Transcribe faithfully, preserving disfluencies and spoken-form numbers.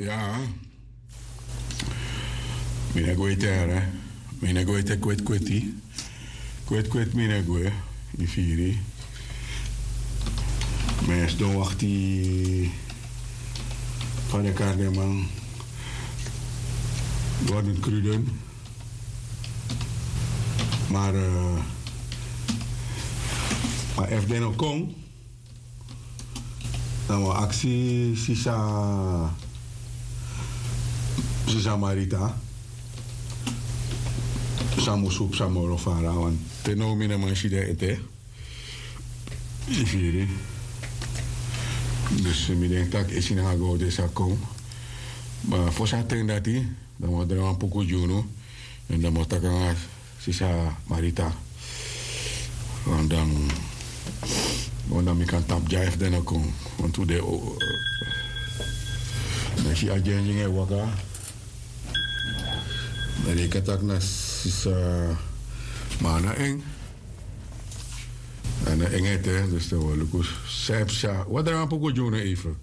Ya. Mi no e gwe ete, yara. Mi no e gwe ete kweti kweti. Kweti kweti mi no e gwe. Yu firi. Mi e sidon wakti fa den e kari den man. Gordon Cruden. Ma, eh, ma efu den no kon, dan wi o aksi sisa, sisa Marita san musu psa moro fara, want te now mi no man si den ete. Yu firi. Dus mi denki tak' esi nanga gowtu sa kon. Ma fosi a ten dati, dan mi o drai wan puku gi unu. Èn dan mi o taki nanga sisa Marita. Èn dan, èn dan mi kan tapu dya efu den no kon. Want tu de o, mi si a dyending e waka. Dan den kan taki na sisa, ma a no en. A no en ete, dus dan wi o luku san e psa. Wi o drai wan puku gi unu even.